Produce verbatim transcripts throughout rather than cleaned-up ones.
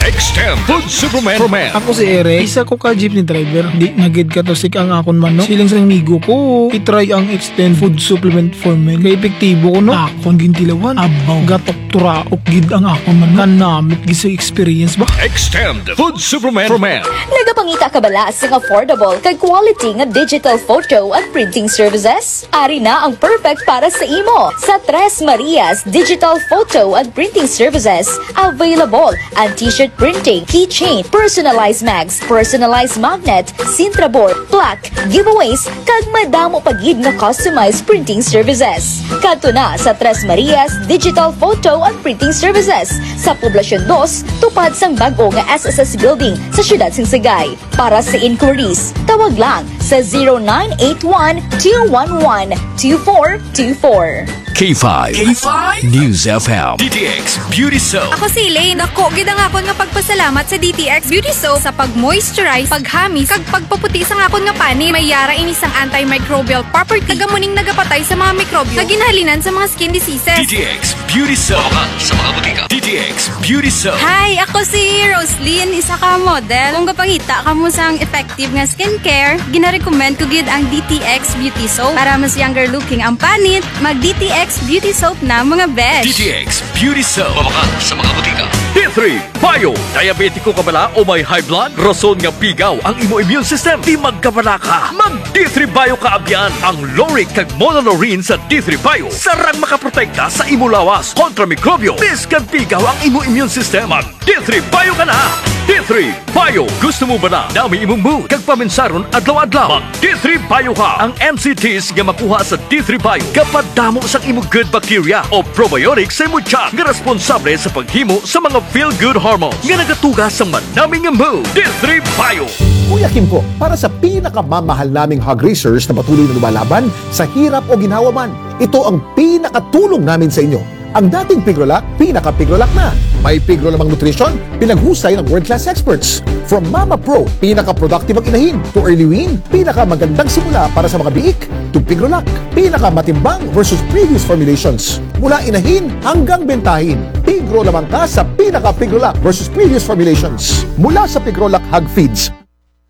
Extend Food Supplement for Men. Ako si Eric, isa ko ka jeepney driver. Di na gid katusik ang akon manok. Siling sa amigo ko, i-try ang Extend Food Supplement for Men. Kay epektibo ko, no? Akon gintilawan. Abaw, gatok turaok gid ang akon manok. Kanamit gid sa experience ba? Extend Food Supplement for Men. Nagapangita ka bala sing affordable kag quality nga digital photo and printing services? Ari na ang perfect para sa imo. Sa Tres Marias Digital Photo and Printing Services, available ang t-shirt printing, keychain, personalized mags, personalized magnet, Sintra board, plaque, giveaways, kag madamo pa gid nga customized printing services. Kadto na sa Tres Marias Digital Photo and Printing Services sa Poblacion Dos, tupad sang bag-o nga S S S Building sa siyudad sang Sagay. Para sa inquiries, tawag lang sa zero nine eight one two one one two four two four. K five K five News F M. D T X Beauty Soap. Ako si Elaine. Dako gid ang akon nga pagpasalamat sa D T X Beauty Soap sa pag-moisturize, paghamis, kag pagpaputi sang akon nga panit. May yara ini sang antimicrobial property. Taga muning nagapatay sa mga mikrobyo nga ginahalinan sa mga skin diseases. D T X Beauty Soap. Mapakan sa mga butika. D T X Beauty Soap. Hi, ako si Roslyn, isa ka model. Kung gapangita kamo sang effective nga skincare, ginarecommend ko gid ang D T X Beauty Soap. Para mas younger looking ang panit, mag D T X Beauty Soap na, mga besh. D T X Beauty Soap. Mapakan sa mga butika. D three Bio. Diabetiko ka bala o may high blood? Rason nga pigaw ang imo immune system. Di magkabala ka. Mag D three Bio ka abyan. Ang lauric kag monolaurin sa D three Bio sarang makaprotekta sa imo lawas kontra mikrobyo. Bisan pigaw ang imo immune system, mag D three Bio ka na. D three Bio. Gusto mo bala nami imong mood kag paminsaron adlaw-adlaw? Mag D three Bio ka. Ang N C Ts nga makuha sa D three Bio gapadamo sang imo good bacteria o probiotic sa imo tiyan nga responsable sa paghimo sa mga feel-good hormones nga nagatuga sa manami nga mood. D three Bio. Kuya Kim po, para sa pinakamamahal naming hog raisers na patuloy na lumalaban sa hirap o ginhawa man, ito ang pinakatulong namin sa inyo. Ang dating Pigrolac, pinaka-Pigrolac na. May Pigro lamang nutrition, pinaghusay ng world-class experts. From Mama Pro, pinaka-productive ang inahin, to Early Wean, pinakamagandang simula para sa mga biik, to Pigrolac, pinakamatimbang versus previous formulations. Mula inahin hanggang bentahin, Pigro lamang ka sa pinaka-Pigrolac versus previous formulations. Mula sa Pigrolac Hog Feeds.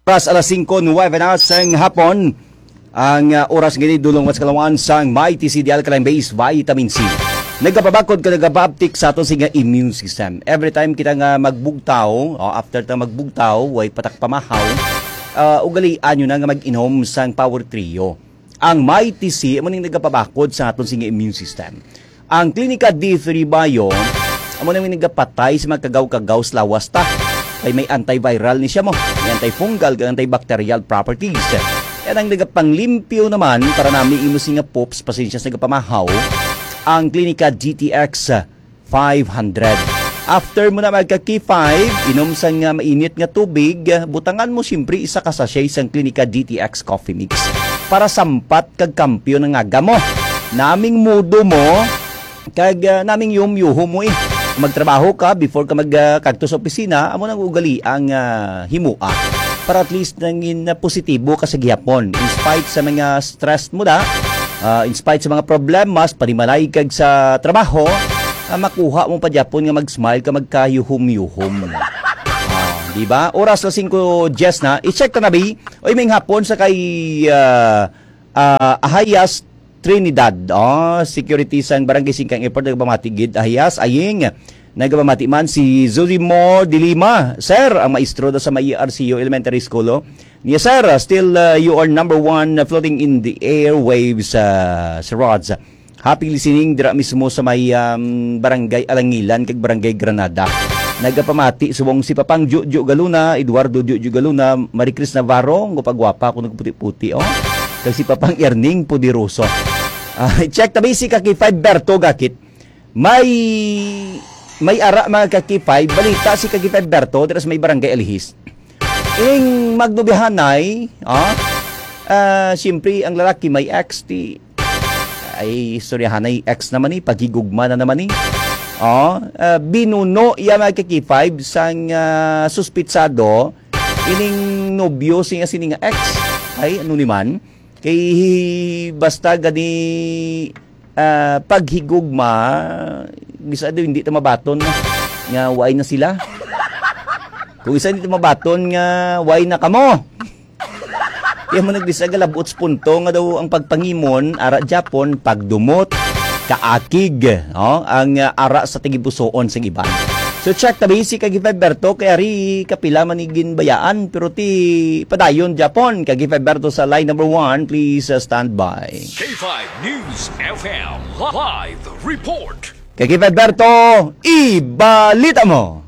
Oras alas singko nuwebe na sang hapon. Ang, ah, oras gini dulong mas kalawan sang Mighty C D Alkaline Base Vitamin C. Nagapabakod ka, nagapabtik sa aton sing immune system. Every time kita nga magbugtaw, o after ta magbugtaw, way patak pamahaw, ah, ugalian nyo na nga mag-inom sang Power Trio. Ang Mighty C, amo ning nagapabakod sa aton sing immune system. Ang Klinika D three Bio, amo na may nagapatay sa mga kagaw-kagaw sa lawas ta. Kay may antiviral ni siya mo, may antifungal kag antibacterial properties. Yan ang nagapanglimpyo naman para nami imo singa poops, pasensya sa nagapamahaw, ang Klinika D T X five hundred. After mo na magka K five, inom sa nga mainit nga tubig, butangan mo siyempre isa ka sachet sang Klinika D T X Coffee Mix para sampat kag kampiyon ang aga mo. Naming mudo mo, kag, ah, naming yumyuho mo eh. Magtrabaho ka before ka mag, ah, kadto sa opisina, amo nang ugali ang, ah, himua. Para at least nangin na positibo ka sa gihapon. In spite sa mga stress mo da, ah, in spite sa mga problemas, panimalay kag sa trabaho, ah, makuha mo pa gyapon nga mag-smile ka, magkayuhom-yuhom. Ah, di ba? Oras na singko diyes na. I-check ta na, bi. Oy, may hapon sa kay, ah, ah, Ahayas Trinidad. Oh, security sang Barangay Singkang Airport, nagpamati gid, Ahayas, aying. Nagpamati man si Zuzimo de Lima. Sir, ang maestro do sa may R C U Elementary School, oh. Niya, sir, ah, still, ah, you are number one, ah, floating in the airwaves, ah, Sir Rods. Happy listening dira mismo sa may, um, Barangay Alangilan kag Barangay Granada. Nagapamati subong si Papang Jojo Galuna, Eduardo Jojo Galuna, Maricris Navarro, nga pagwapa ako nagputi-puti, oh. Kag si Papang Erning Poderoso. Ah, check ta ba si Kaki Five Berto Gakit. May, may ara mga Kaki Five, balita si Kaki Five Berto, dira sa may Barangay Alihis. Ing magnubihanay, ah, ah, siyempre, ang lalaki may ex, ti, ay, istoryahanay, ex naman eh, paghigugma na naman eh. Oh, ah, binuno iya mga Kaki Five sang, ah, suspitsado, ining nobyo siya sini nga ex. Ay, ano ni man? Kay basta gani, ah, paghigugma, bisado hindi ta mabaton nga waay na sila. Kung isa dito mabaton nga, why na kamo? Kaya mo nagdisa galabot sa punto nga daw ang pagpangimon, ara Japon, pagdumot, kaakig, oh, ang ah, ara sa tagipusoon sa iban. So check tabi si Kagi Berto, kay ari kapila man ni ginbayaan, pero ti padayon Japon, Kagi Berto sa line number one, please uh, stand by. K five News F M live report. Kagi Berto, ibalita mo.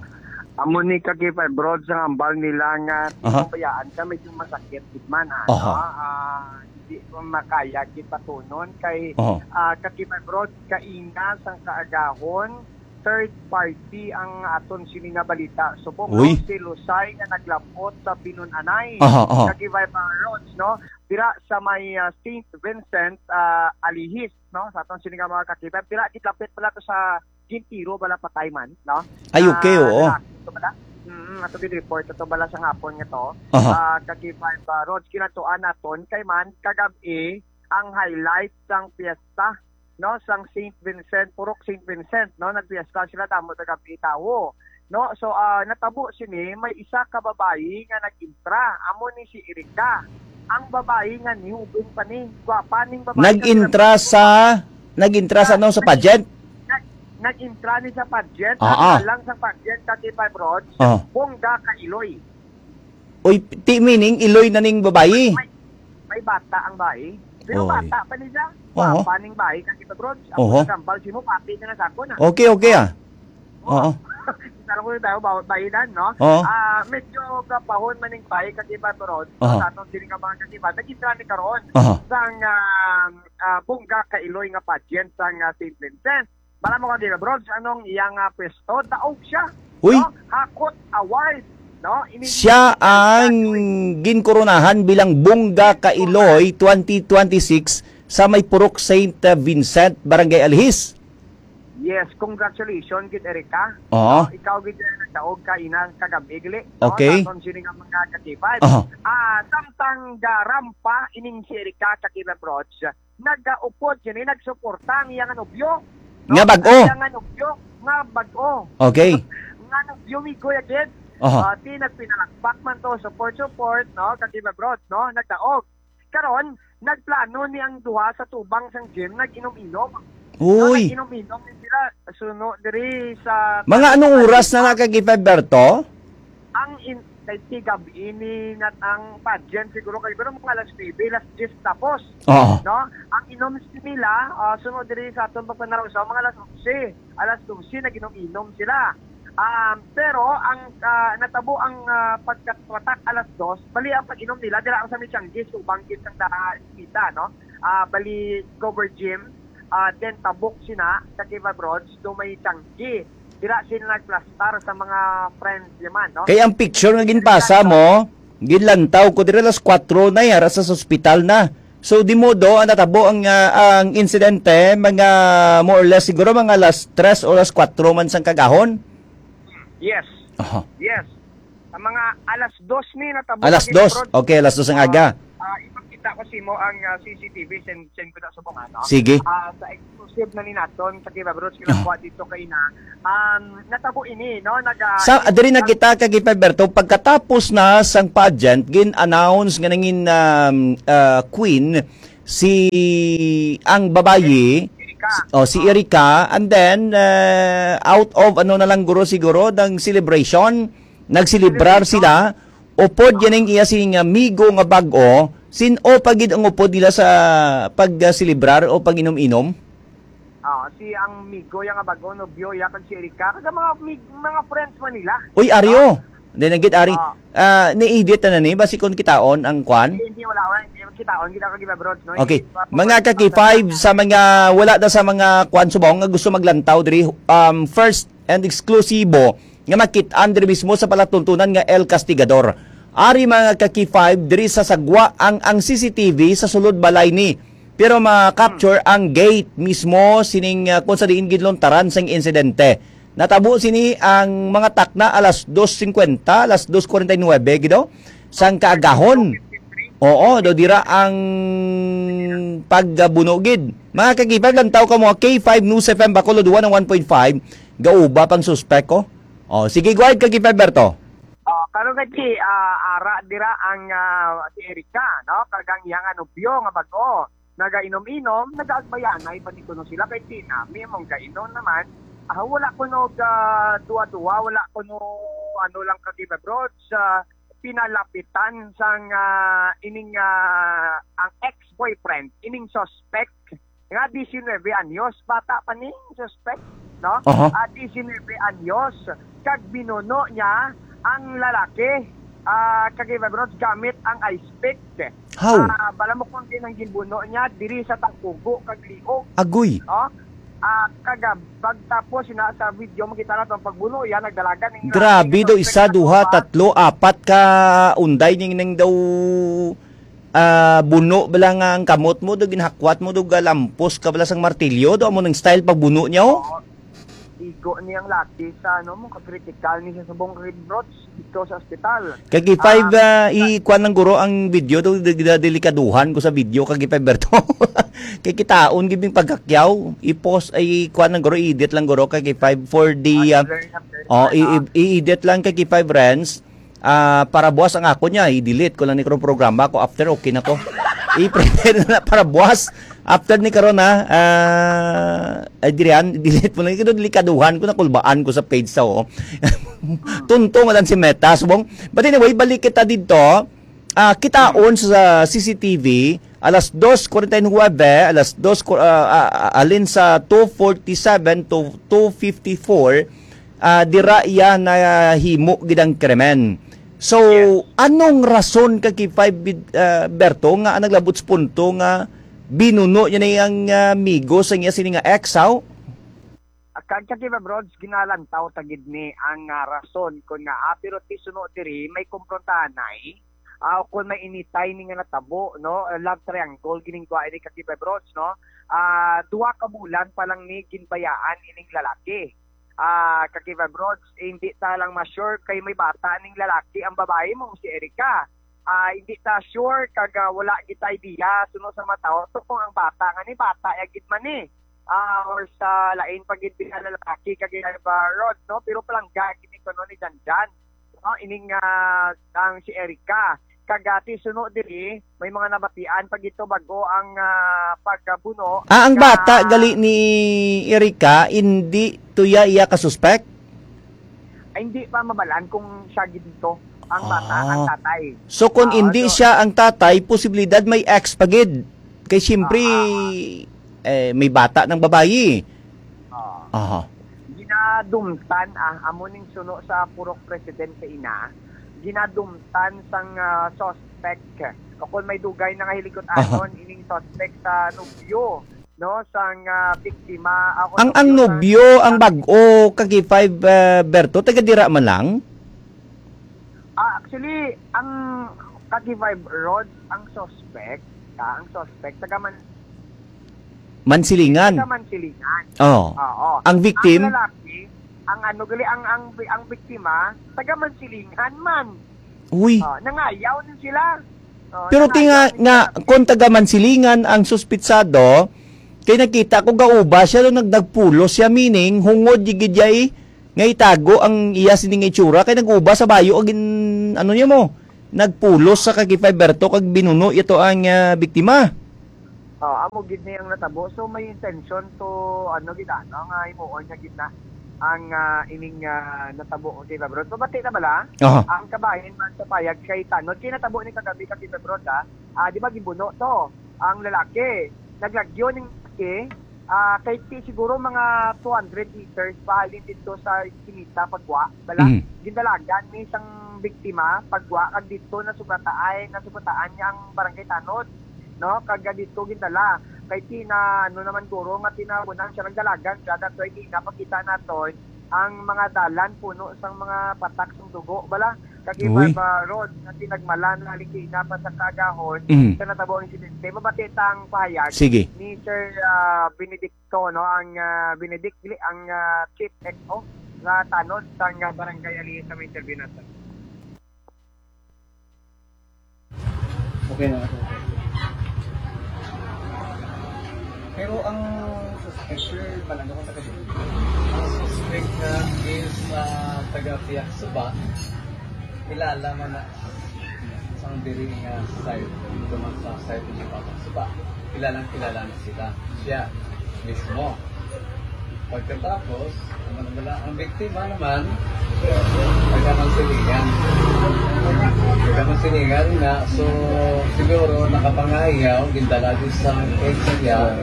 Amo ni Kaki Five Broad sa hambal nila nga Aha. Pabayaan ka, medyo masakit gid man, ano? Aha. Ah, hindi ko makaya gid patunon kay Aha. Ah, Kaki Five Broad, kaina sang kaagahon, third party ang aton sini nga balita. Subong Uy. Raw si Lusay nga naglapot sa Binun-anay. Aha, aha. Kaki Five Broad, no? Dira sa may ah, Saint Vincent, ah, Alihis, no? Sa aton sini nga mga Kaki Five. Dira, gitlapit pala to sa gintiro bala patay man, no? Ay, okay, Ah, oo. Lalaki to bala. Mm, ato gid report ato bala sa hapon nga to. Aha. Ah, Kaki Five Broad, kinatuan naton kay man kagab-i ang highlight sang piyesta, no, sang Saint Vincent, Purok Saint Vincent, no, nagpiyesta sila damo sa gab-i tawo, no? So, ah, natabo sini may isa ka babayi nga nag-intra, amo ni si Erika. Ang babayi nga niubing pa ni, gwapa ning babayi. Nag-intra sa, nag-intra sa ano, sa pageant? Nag, nag-intra ni sa pageant, Ah, ah. Ang lang sa pageant, Kaki Five Broad, Ah. Bongga ka iloy. Uy, ti meaning, iloy na ning babayi? May, may bata ang bayi. Pero Oy. Bata pa ni siya. Oo. Papa ning bayi, Kaki Five Broad. Ang Oho. Nagambal si mo, pati na na sa ako na. Okay, okay, ah. Oo. Oo. Kita lang ko tayo, ba-, bayinan, no? Oo. Ah, medyo kapahon man ning bayi, Kaki Five Broad. Oo. Sa atong sini nga mga Kaki Five, nag-intra ni karon. Aha. Sang, ah, ah, Bongga ka Iloy nga pageant sang, ah, Saint Vincent. Bala mo, Kaki Five Broad, anong iyang, ah, pwesto? Daog siya. Uy. No? Hakot Award. No? Ini Siya ang ginkoronahan bilang Bongga ka Iloy twenty twenty-six sa may Purok Saint Vincent, Barangay Alihis. Yes, congratulations gid, Erika. Oo. No, ikaw gid ang nagdaog ka ina kagab-i, gali, no? Okay. Sa aton sini nga mga Kaki Five. Aha. Ah, samtang garampa ining si Erika, Kaki Five Broad, nagaupod sini, nagsuporta ang iyang nobyo, no? Nga bag-o. Ang iyang nobyo nga bag-o. Okay. Nga nobyo, migo ya gid. Aha. Ah, ti nagpinalakpak man to, support, support, no? Kaki Five Broad, no? Nagdaog. Karon, nagplano ni ang duha sa tubang sang gym, nag-inom-inom. Uy. No, nag-inom-inom ni sila suno diri sa Mga anong oras na nakakita, Berto? Ang in-, kay tigab ini nat ang pageant siguro kay pero mga alas nuebe, alas diyes tapos. Oo. No? Ang inom nila, ah, sunod diri sa aton pagpanaraw sa mga alas onse, alas dose nag-inom-inom sila. Um, pero ang, ah, natabo ang, ah, pagkatwatak alas dos, bali ang pag-inom nila dira ang sa Michanggi, subang gid sang da-, kita, no? Ah, bali cover gym, ah, then tabok sina sa Kiva Broads, do may Changi. Dira sila nagplastar sa mga friends niya man, no? Kay ang picture nga ginpasa mo, ginlantaw ko dira alas kwatro na, yara sa ospital na. So, di modo ang natabo ang, ah, ang insidente, mga more or less siguro mga alas tres o alas kwatro man sang kagahon? Yes. Aha. Yes. Ang mga alas dos ni natabo Alas sa dos. Kiva Broads. Okay, alas dos ang Ah, aga. ah, ipakita ko sa imo ang, ah, C C T V, send, send ko na subong, ano? Sige. Ah, sa exclusive na ni naton sa Kiva Broads, Ah. kinakuha dito kay na, um, natabo ini, no? Naga- Sa, diri na kita, Kaki Five Berto, pagkatapos na sang pageant, gin-announce nga nangin, um, ah, queen si, ang babayi, Erika. Oh, si Erika, and then, uh, out of, ano na lang guro siguro, ng celebration, nagselebrar Celebration. sila, upod yan ang iya sing amigo nga bag-o, sin-o pa gid ang upod nila sa pag-celebrar o pag-inom-inom? Ah, si ang migo ya nga bag-o, nobyo ya, kag si Erika, kag ang mga mig-, mga friends man nila. Uy, Ario. Ah. Then, ang gid, Ari, Ah. ah, ni-edit na ni, basi kung kitaon ang kwan? Hindi, hindi, wala, wala. Hindi, kitaon, hindi ako Kiva Broads, no? Okay. Hindi pa po Mga pa- Kaki Five, sa mga, wala na sa mga kwan subong nga gusto maglantaw diri, um, first and exclusibo nga makit-an diri mismo sa palatuntunan nga El Castigador. Ari, mga Kaki Five, diri sa sagwa ang, ang C C T V sa sulod balay ni. Pero ma-capture ang gate mismo sining, ah, kung sa diin gid luntaran sang insidente. Natabo sini ang mga takna alas dos cincuenta, alas dos cuarenta y nueve gid, oh, sang kaagahon. Oo, do dira ang pagbuno gid. Mga Kaki Five, lantaw ka mo, K five News F M Bacolod one oh one point five, gauba pang suspek, oh. Oh, sige, go ahead, Kaki Five Berto. Ah, Karon kay si, ah, ara dira ang, ah, si Erica, no? Kag ang iya nga nobyo nga bag-o, nagainom-inom, nagaagbayanay pa ni kuno sila kay si Nami mong gainom naman. Ah, wala kuno ga duwa-duwa, wala kuno ano lang ka Kibabrods, ah, pinalapitan sang, ah, ining, ah, ang ex-boyfriend, ining suspect nga diecinuebe anyos, bata pa ni suspect, no? Aha. Ah, diecinuebe anyos, kag binuno niya ang lalaki, ah, kag Kibabrods gamit ang ice pick. How? Ah, bala mo kung din ang ginbuno niya diri sa Tangkugo kag Liog. Agoy. Oh? Ah, kagabag tapos ina sa video makita nato ang pagbuno yan nagdalagan ning Grabe daw, isa, suspect sa duha, tupa. Tatlo, apat ka unday ning, ning daw, ah, buno bala nga ang kamot mo daw, ginahakwat mo daw, galampos ka bala sang martilyo daw, amo nang style pagbuno niya, oh. Oo. Igo ni ang laki sa ano mo, ka-critical ni sa subong rib rots dito sa ospital. Kay K five, Ah, ah, i-kuan lang guro ang video to, di-, di-, delikaduhan ko sa video kay K five Berto. Kay kitaon gid ning pagkakyaw, i-post, ay kuan lang guro, i-edit lang guro kay K five for the, ah, After, after, oh, i-, ah, i-, i-edit lang kay K five Renz. Ah, para buwas ang ako niya, i-delete ko lang ni karong programa ko. After, okay na ko. I-prepare na para buwas. After ni karon, ha, ah, ay, dirihan, delete mo lang. Kaya delikaduhan ko, nakulbaan ko sa page sa, oh. Tunto nga lang si Meta. Subong. But anyway, balik kita dito. Ah, kitaon sa C C T V, alas dos forty-nine, alas dos, ah, ah, ah, alin sa two forty-seven to two fifty-four, ah, dira iya nahimo gid ang krimen. So, Yes. anong rason ka kay five bid-, ah, Berto, nga naglabot sa punto nga binuno niya na ang, ah, amigo sa iya sini nga ex, haw? Kag sa Kibabrods, ginalantaw ta gid ni ang, ah, rason kon nga, ah, pero ti suno diri may komprontahanay, ah, o kon may initay ni nga natabo, no? Love triangle gining kuha ini ka Kibabrods, no? Ah, duha ka bulan pa lang ni ginbayaan ining lalaki. Ah, ka Kibabrods, hindi ta lang ma-sure kay may bata ning lalaki ang babae mo si Erica. Ah, hindi ta sure kag, ah, wala kita idea suno sa mga tao to kung ang bata nga ni bata ya gid man ni. Ah, or sa lain pa gid nga lalaki kag iya ba, Rod, no? Pero palangga gid ni kuno ni Janjan. No, ining, ah, ang si Erica. Kag, ah, ti suno diri, may mga nabatian pa gito bago ang, ah, pagkabuno Ah, ang nga bata gali ni Erica, hindi to iya, iya ka suspect? Ay, hindi pa mabalaan kung siya gid to ang bata, ang Ah. tatay. So, kung Ah, hindi so siya ang tatay, posibilidad may ex pa gid. Kay siyempre, Ah, ah, ah. eh, may bata ng babayi. Ah. Aha. Ginadumtan, ah, amo ning suno sa purok president sa ina. Ginadumtan sang, ah, suspect. O kung may dugay na nga Aha. hiligutan ining suspect sa nobyo, no, sang, ah, biktima. Ako, Ang, ang nobyo sa nobyo, ang bag-o, kagi five, ah, Berto, taga dira man lang? Ah, actually, ang kagi five Rod, ang suspect, ah, ang suspect, taga Man-, Mansilingan. Taga Mansilingan. Oh. Oo. Ang victim? Ang lalaki, ang ano, gali, ang, ang, ang biktima, taga Mansilingan man. Uy. Oh, nangayaw din sila. Oh, Pero ti nga, nangayaw din nga, sila. Kung taga Mansilingan ang suspitsado, kay nakita ko gauba siya, no, nag-, nagpulos siya, meaning, hungod, gigid, yay, nga itago ang iya sini nga itsura, kay nag-uba sa bayo, ang gin-, ano niya mo, nagpulos sa kaki five Berto, kag binuno ito ang, ah, biktima. Oh, amo gid ni ang natabo. So, may intention to, ano gid, ano, nga himuon niya gid na ang, ah, ining, ah, natabo, di ba, bro? Pabati na bala? Aha. Ang kabahin man sa payag kay Tanod. Kay natabo ni kagabi ka, di ba, bro, ha? Ah, di ba, gibuno to? Ang lalaki. Naglagyo ning lalaki, ah, kay ti siguro mga two hundred meters pahalin dito sa Kinita, pagwa, bala? Mm. Gindalagan ni isang biktima, pagwa, kag dito nasugataay, nasugataan niya ang barangay Tanod. No, kag dito gindala. Kay tina, ano naman guro nga tinabunan siya nagdalagan siya, that's why di napakita naton ang mga dalan puno sang mga patak sang dugo, bala. Kag Uy. Barba Road, nga tinagmalan, halin kay ina pa sa kagahon, Mm. sa natabo ang insidente. Mabati ta ang pahayag Sige. ni Sir, ah, Benedicto, no, ang, ah, Benedict, ang, ah, Chief X O nga Tanod sang, ah, Barangay Ali sa may interview natin. Okay na. Pero ang suspect, sir, palangga ko taga dito. Ang suspect na is, ah, taga Piaksuba. Kilala man na sang diri nga side, dito man sa side ni Papa. Sipa, kilalang kilala na sila. Siya mismo. Pagkatapos, ano na bala, ang biktima naman, taga Mansilingan. Taga Mansilingan nga, so, siguro nakapangayaw, gindala dito sa area,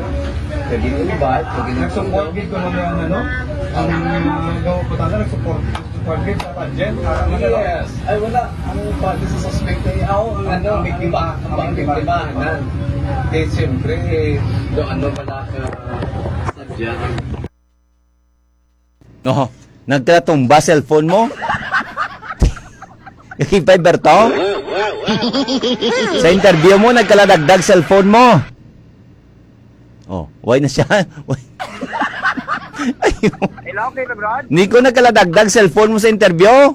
kag gin-invite, kag gin- Nagsupport gid kuno ang, ano, ang, uh, gawa ko tala, nagsupport, nagsupport gid sa pageant, para magano. Yes. Ay, wala. Ang pati sa suspect ay, ako, ang ano, ang biktima. Ang biktima, nan. Kaya siyempre, do ano pala ka, sadya. Oh, nagkatumba cellphone mo? Kay Fiber to? Sa interview mo, nagkaladagdag cellphone mo? Oh, why na siya? Why? Ayaw. Hello, Kuya Brad? Nico, nagkaladagdag cellphone mo sa interview?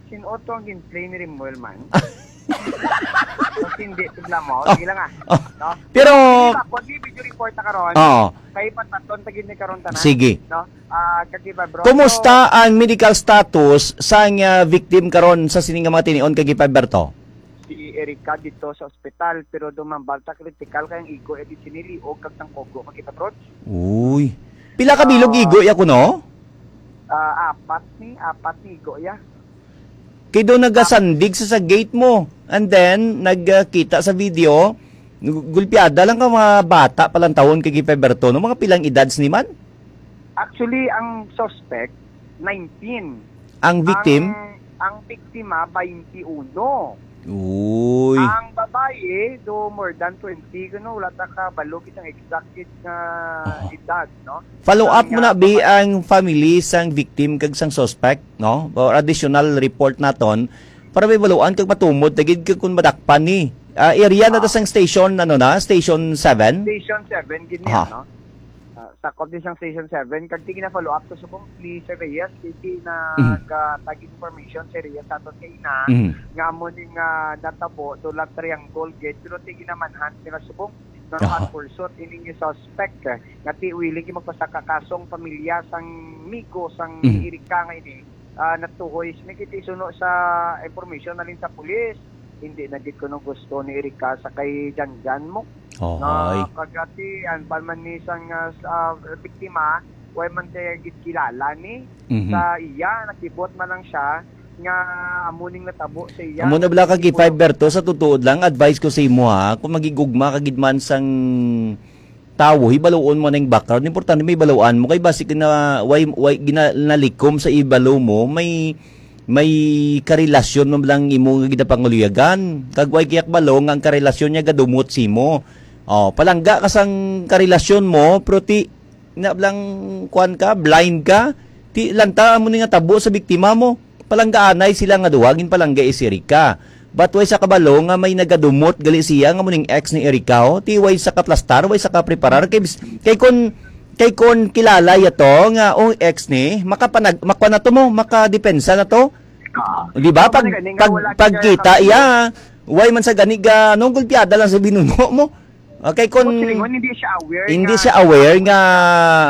Sin-o to ang gin-play ni Rimuel man? Kung hindi, tignan mo. Oh. Sige lang, ah. Oh. No? Pero Di ba, kung di video report na karon, Oo. Kay pataton ta gid ni karon tanan. Sige. No? Ah, Kagiba, bro. Kumusta So, ang medical status sang, ah, victim karon sa sini nga mga tinion, Kagiba Berto? Si Erica dito sa ospital, pero dumambal ta, critical kay ang igo, eh, di siniliog kag tangkogo, Kagiba, bro. Uy. Pila ka bilog Ah. igo ya kuno? Ah, apat ni, apat ni igo ya. Kay daw nagasandig sa, sa gate mo. And then, nagkita sa video, gu-, gulpiada lang ka mga bata pa lang taon kay Gipe Berto, no? Mga pilang edad ni man? Actually, ang suspect, nineteen. Ang victim? Ang, ang biktima, twenty-one. Uy. Ang babae, do more than twenty, kuno, wala ta kabalo kitang exact gid nga Aha. edad, no? Follow up Ang, mo na, ah, bi, babae. ang family sang victim kag sang suspect, no? Or additional report naton para may baluan kag matumod na gid kag kung madakpan ni. Ah, area na to Ah. sang station, ano na? Station seven? Station seven, gid niya, Aha. no? Ah, sakop din sang Station seven. Kag tingin na follow up to subong ni Sir Reyes, kasi na Mhm. ga-tag information si Reyes sa aton kay ina, Mhm. nga amo ni nga natabo, do love triangle gid, pero tingin na manhunt nila subong. Aha. Nang pursuit, ining suspect, eh, nga ti willing gyud magpasaka kaso ang pamilya sang migo sang Mhm. Erika nga ini, ah, natuhoy. Sini kiti suno sa information nalin sa pulis. Hindi na gid kuno gusto ni Erika sa kay Janjan mo. Ohoy. Nga kagati, ang palman ni sang, ah, sa, ah, biktima, way man siya gid kilala ni Mhm. sa iya, nakibot man lang siya nga amo ning natabo sa iya. Amo na bala ka, Kay Five Berto, sa tutuod lang, advice ko sa imo, ha, kung magigugma ka gid man sang tawo, hibaluon mo ning background. Importante may baluan mo kay basi na way, way gina-, nalikom sa ibalo mo, may, may karelasyon man lang imo nga ginapangaluyagan. Kag way kaya kabalo nga ang karelasyon niya gadumot sa imo. Oh, palangga ka sang karelasyon mo, pero ti, na lang, kuan ka, blind ka, ti lanta mo ni nga tabo sa biktima mo. Palanggaanay sila nga duha, ginpalangga si Erika. But way sa kabalo nga may nagadumot gali siya nga mo ning ex ni Erika, oh. Ti way sa kaplastar, way sa kapreparar. Kay, bis-, kay kon, kay kon kilala ya to nga, oh, ex ni, makapanag-, makwa na to mo, makadepensa na to. Ah. Di ba? Pag, Wala gani nga pag, wala siya pagkita iya, way man sa gani ga, no, gulpiada lang sa binuno mo. Okay, kun Kung silingon, hindi siya aware hindi nga siya aware nga,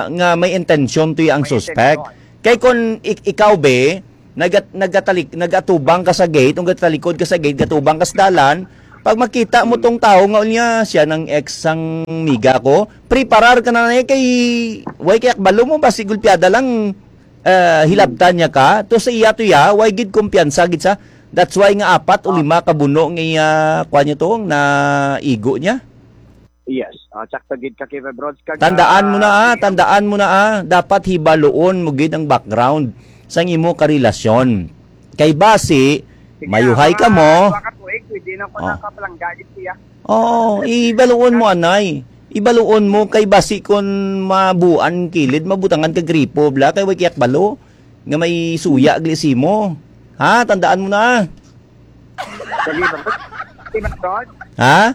nga may intensyon to ang May suspect. Intensyon. Kay kun ik-, ikaw, be, nagat-, nagatalik-, nagatubang ka sa gate, kung gatalikod ka sa gate, gatubang ka sa dalan, pag makita mo Hmm. tong tao nga unya, siya nang ex sang miga ko, preparar ka na na kay, way kay akbalo mo, basi gulpiada lang, ah, hilabtan niya ka, to sa iya to ya, way gid kumpiyansa gid sa, that's why nga apat o Ah. lima ka buno nga iya, kuwan niya to, na igo niya. Yes. Ah, sakto gid ka, Kevin Bronze. Kag, Tandaan mo na, ah, ah, tandaan mo na, ah, dapat hibaluon mo gid ang background sang imo karelasyon. Kay basi, Sige, mayuhay ka mga mo. Dua ka tuig, pwede na ko Ah. nakapalangga gid siya. Oo, ibaluon mo, anay. Ibaluon mo kay basi kon mabuan kilid, mabutangan ka gripo, bla, kay way kiyak balo nga may suya gli simo. Ha, tandaan mo na. Sige, Bronze. Sige, Bronze. Ha?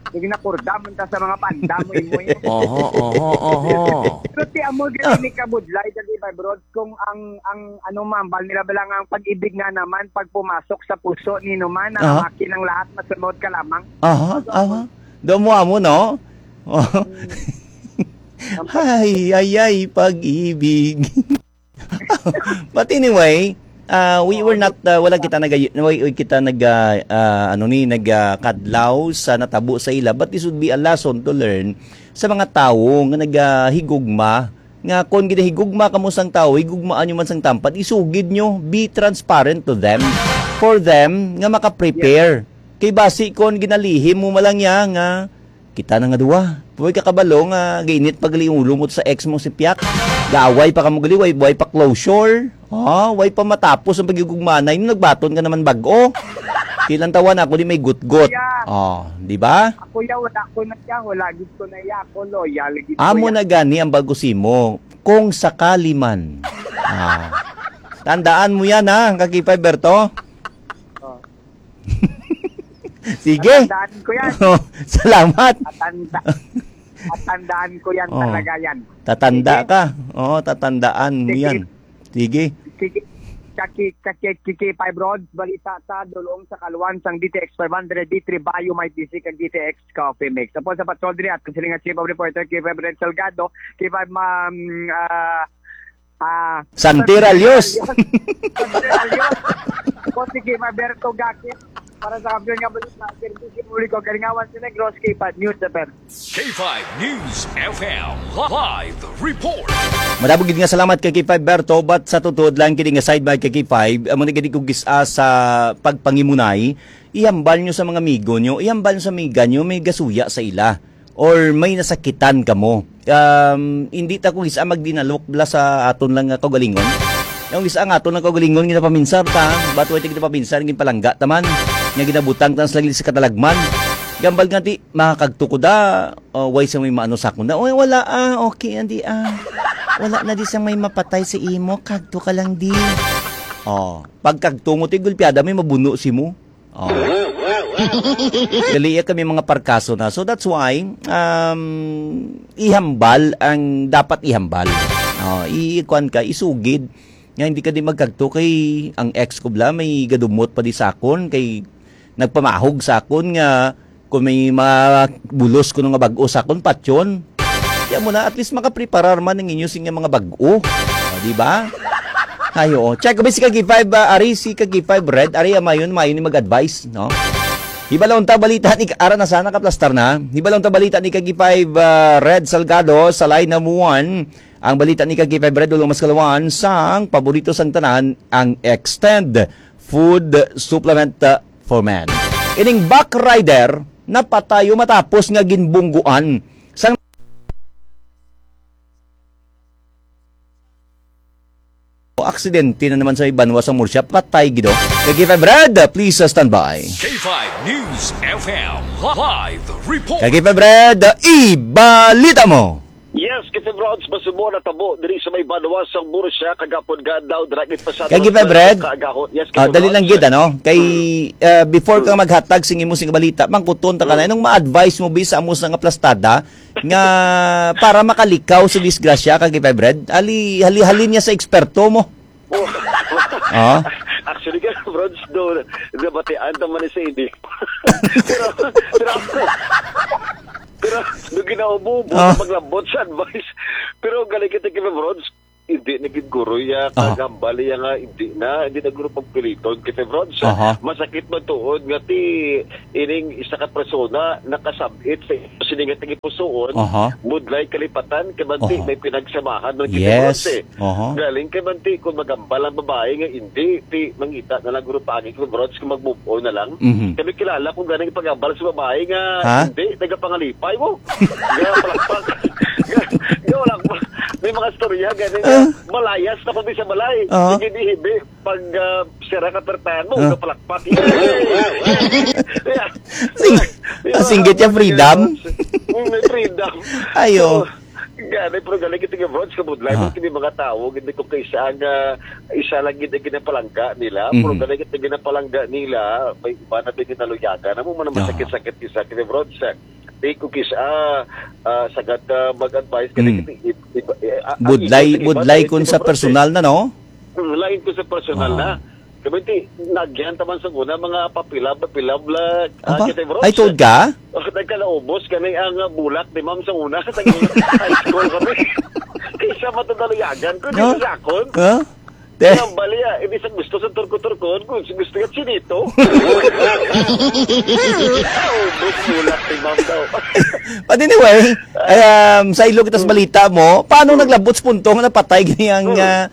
Sige, nakurda man ta sa mga panda mo, imo, imo. Oho, oho, oho. Pero ti amo gani ni kabudlay, dali ba, bro? Kung ang, ang ano, mambal nila ba lang ang pag-ibig nga naman, pag pumasok sa puso ni naman, Aha. ang akin ang lahat, masunod ka lamang. Aha, Masunod. aha. Doon mo amo, no? Mm. Ay, ay, ay, pag-ibig. But anyway, Ah, we were not, ah, wala kita nag-, wala kita nag-, ah, ah, ano ni, nag, ah, kadlaw sa natabo sa ila, but this would be a lesson to learn sa mga tawo nga nagahigugma, nga kon ginahigugma kamo sang tawo, higugmaan nyo man sang tampad, isugid nyo, be transparent to them, for them, nga maka-prepare. Kay basi kon ginalihim mo man lang niya nga, kita na nga duwa. Way ka kabalo nga gainit pa gali ang ulo mo sa ex mo si Piak. Gaaway pa kamo gali, way, way pa closure. Ah, way pa matapos ang paghigugmaanay. Nung nagbaton ka naman bag-o. Tilang tawa na ako di may gutgot. Yeah. Oh, di ba? Ako ya, wala ko na ya, wala gid ko na ya, ako loyal gid ko Amo ya. Na gani ang bago simo, kung sakali man. Ah. Tandaan mo yan, ha, Kaki Five Berto? Oh. Sige. Tatandaan ko yan. Oh, salamat. Tatanda, tatandaan ko yan Oh. Talaga yan. Tatanda Sige. Ka. Oo, tatandaan mo Sige. Yan. Sige. Sige. Kaki, kaki, kiki, five roads, balita sa dulong sa kaluan sang D T X five hundred, D three Bayo, may D C kag D T X Coffee Mix. Apo sa patrol diri at kasilingan chief of reporter, K five Red Salgado, K five Ma'am, ah, Ah, Santi Ralios. Santi Ralios. Ako si Kim Alberto Gakit. Para sa kampiyon nga balita, Serbisyo Publiko, Kalingawan sa Negros, K five News F M. K five News F M live report. Madamo gid nga salamat kay K five Berto, but sa tutuod lang kini nga side by kay K five, amo na gid ko gis-a sa pagpangimunay, ihambal nyo sa mga amigo nyo, ihambal nyo sa amiga nyo, may gasuya sa ila. Or may nasakitan kamo. Um, hindi ta ko gisa magdinalok bala sa aton lang nga kaugalingon. Ang gisa nga aton lang kaugalingon, ginapaminsar ta, ba't way ta ginapaminsar, ginpalangga ta man, nga ginabutang ta sa langit sa katalagman. Gambal nga ti, makakagto ko da, oh, way sa may maano sa akon da. Oy, wala ah, okay, andi ah. Wala na di sang may mapatay sa imo, kagto ka lang di. Oh, pagkagto mo ti gulpiada may mabuno si mo. Oh. Gali kami mga parkaso na. So that's why, um, ihambal ang dapat ihambal. Oh, ikuan ka, isugid. Nga hindi ka di magkagto kay ang ex ko bla, may gadumot pa di sa akon, kay nagpamahog sa akon nga kung may mga bulos kuno nga bag-o sa akon, patyon. Kaya mo na, at least makapreparar man ang inyo sing mga bag-o. O, di ba? Ay, oo. Check ko ba si Kagi five, ah, Ari, si Kagi five Red, Ari, amayon, mayon ni mag-advise, no? Hibalon ta balita ni, ara na sana, kaplastar na. Hibalon ta balita ni Kagi five, ah, Red Salgado sa line number one. Ang balita ni Kagi five Red, Dulong Maskalawan, sang paborito sang tanan, ang Extend Food Supplement, ah, for Men. Ining back rider, napatayo matapos nga ginbungguan sang aksidente na naman sa may banwa sa Murcia. Patay gido. Kay K five Red, please, uh, stand by. K five News F M live report. Kay K five Red, ibalita mo. Yes, K five Rods, masubo na tabo diri sa may banwa sa Murcia kagapon nga adlaw, dira gid pasado Kay K five Red, kaagahon. Yes, ah, K five dali lang Rods. Gid, ano? Kay, Hmm. Uh, before ka Hmm. Maghatag sing imo sing balita, mangkuton ta ka na, Hmm. Anong ma-advise mo, bi, sa amo sa nga plastada, nga para makalikaw sa disgrasya, Kagi Five Red? Hali, hali, halin niya sa eksperto mo. Oh. Ah? Actually, ka, Bronze, do, nabatian naman ni sa ini. Pero, pero, pero, nung ginaubo-ubo Oh. Sa paglambot sa advice. Pero galing kita kay Bronze, hindi na gid guro ya, Aha. Kagambal ya nga, hindi na, hindi na guro pagpiliton kay Bronze. Aha. Masakit man tuod nga ti, ining isa ka persona nakasabit sa sini nga tagipusoon, Aha. Budlay kalipatan, kay manti Aha. May pinagsamahan man kita Yes. Bronze, eh. Aha. Galing kay manti, kung magambal ang babae nga hindi, ti, mangita na lang guro pagi kay Bronze kung mag-move on na lang. Mhm. Kami kilala kung ganing pagambal sa babae nga Ha? Hindi, nagapangalipay mo. Nga palakpak. Nga, nga wala pa. May mga storya, ganing Ah. Malayas na kami sa balay. Ah. Sige, di hibi. Pag, ah, sira ka pertahan mo, Ah. Nga palakpak. Yeah. Sing-, Yeah. Singgit yung freedom. Mm, may freedom. Ayo. So, gani, pero galing kita nga, Bronze, kabudlay, Ah. Kini mga tao, hindi ko kaisa nga, isa lang gid ang ginapalangga nila, pero Mhm. galing kita ginapalangga nila, may iba na din ginaluyagan. Amo man ang Ah. Masakit-sakit isa, kini, Bronze, eh. Di ko kis-, ah, ah, sagad ka mag-advise ka Mm. Di, di, di, ah, ah, Budlay, ikaw, budlay ikaw, kun sa ikaw, personal na, no? Mm, lain ko sa personal Ah. Na. Kami ti, nagyan taman sa una, mga papila, papila, bla, ah, Aba? Kita, bro. Ay, tuod ka? Oh, nagkalaubos kami ang, ah, bulak ni ma'am sa una, sa high school kami. Kaysa matadaluyagan ko, No? Di sa akon. Huh? Te. Ang bali, ah, hindi sa gusto sa turko-turkon, kung gusto nga chinito. Oh, gusto lang si ma'am daw. But anyway, um, sa ilo kita sa balita mo, paano Hmm. naglabot sa punto nga napatay gani ang, Hmm. ah,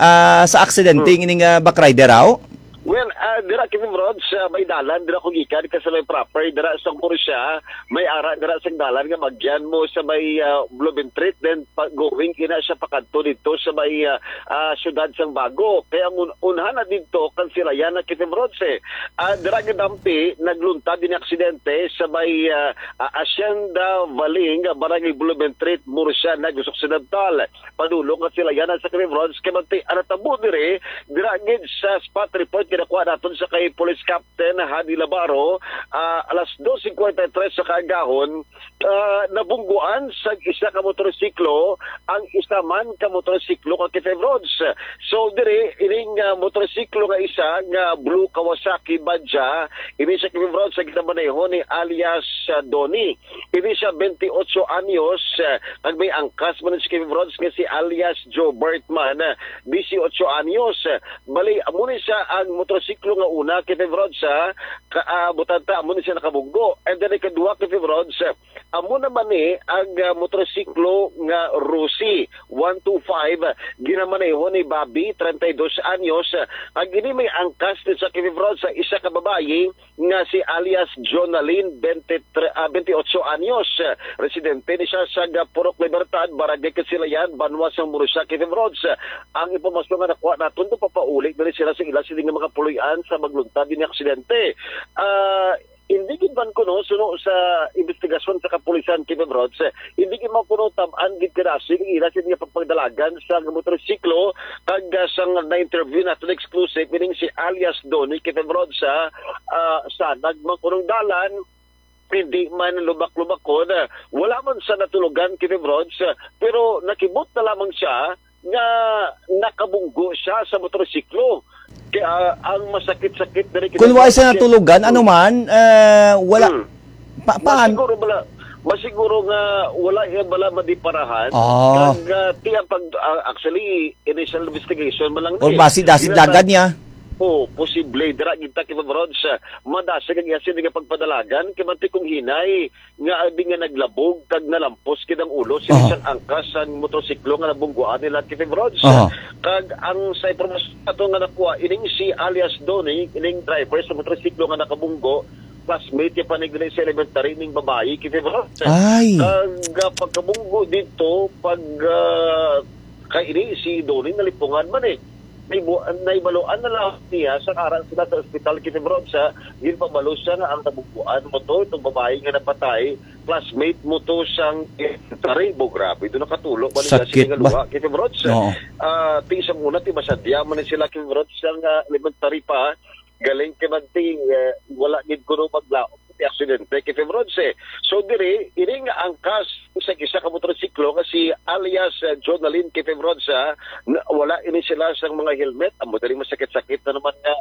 ah, sa aksidente Hmm. ining, ah, back rider, aw? Well, ah, dira, Kevin Rod, sa may dalan, dira ko gikan, ka sa may proper, dira sa Murcia, may ara, dira sa dalan nga magyan mo sa may, ah, Blumentritt, then pa, going ina siya pakadto dito sa may, ah, ah, siyudad sang Bago. Kaya ang un-, unhan na dito, kansilayan na, Kevin Rod, eh. Ah, dira nga dampi, nagluntad din aksidente sa may, ah, ah, Hacienda Valing, ah, Barangay Blumentritt, Murcia, Negros Occidental. Padulong nga sila yana sa Kevin Rod, kay manti ang natabo diri, dira gid sa spot report ginakuha naton sa kay Police Captain Hadi Labaro, ah, alas dos cincuenta y tres sa kaagahon, ah, nabungguan sa isa ka motorsiklo ang isa man ka motorsiklo ka Kevin Rods. So diri ining, ah, motorsiklo nga isa nga blue Kawasaki Badja, ini sa Kevin Rods sa ginamaneho ni alias, ah, Donnie. Ini siya, twenty-eight anyos, eh, kag may angkas man si Kevin Rods nga si alias Joe Bertman, eh, dieciocho anyos. Bali, amo ni siya ang motorsiklo nga una, Kevin Rods, ha, ka, ah, butanta, amo ni siya nakabunggo. And then, ikaduha, Kevin Rods, eh, amo naman ni ang, ah, motorsiklo nga Rusi one two five, ginamaneho ni Bobby, treinta y dos anyos. Ang ini may angkas ni sa Kevin Rods sa isa ka babayi nga si alias Jonalyn, twenty-three, ah, twenty-eight anyos, eh, residente ni siya sa Purok Libertad, Barangay Kasilayan, Banwa sang Murcia, Kevin Rods. Ang impormasyon nga nakuha naton, papauli na rin sila sa ila sini nga mga puloy-an sa magluntad ni aksidente. Ah, hindi gid man kuno, suno sa investigasyon sa kapulisan, Kevin Rods, eh, hindi gid man kuno tab-an gid kadasig ang ila sini nga pagpagdalagan sa motorsiklo, kag, ah, sang na-interview naton exclusive, meaning si alias Donnie Kevin Rods, ah, ah, sa nagmangkunong dalan, hindi man lubak-lubakon, ah, wala man sa natulugan, Kevin Rods, ah, pero nakibot na lamang siya nga nakabunggo siya sa motorsiklo. Kaya, ah, ang masakit-sakit diri, Kevin Rods, wala siya natulugan, ano man, ah, wala. Hmm. Pa-, paan? Masiguro bala, masiguro nga wala iya bala madiparahan. Ah. Kag, ah, ti ang pag, ah, actually, initial investigation man lang ni. Or basi dasig dagat niya. Oh, posible. Dira gid ta, Kevin Rods, ah, madasig ang iya sini nga pagpadalagan. Kay manti kung hinay nga abi nga naglabog kag nalampos gid ang ulo sini sang angkas sang motorsiklo nga nabungguan nila, Kevin Rods. Kag ang sa impormasyon nato nga nakuha, ining si alias Donnie, ining driver sa motorsiklo nga nakabunggo, classmate niya pa ni sa elementary ning babayi, Kevin Rods. Ay. Kag, ah, pagkabunggo dito, pag, ah, kay ini si Donnie nalipungan man, eh. Naibu-, naibaluan na lang niya sa ara sila sa ospital, Kevin Rods, ha. Ginpabalo siya nga ang nabungguan mo to, itong babayi nga napatay, classmate mo to sang elementary. Bo, grabe, doon nakatulo. Sakit ba? Kevin Rods. Oo. Ah, ti isang una, ti masadya man ni sila, Kevin Rods, sang, ah, elementary pa. Galing kay manti, eh, wala gid kuno maglaom ti aksidente, Kevin Rods, eh. So, diri, ini nga angkas sa isa ka motorsiklo nga si alias, eh, Jonalyn, Kevin Rods, ah, na, wala ini sila sang mga helmet. Amo diri masakit-sakit na naman nga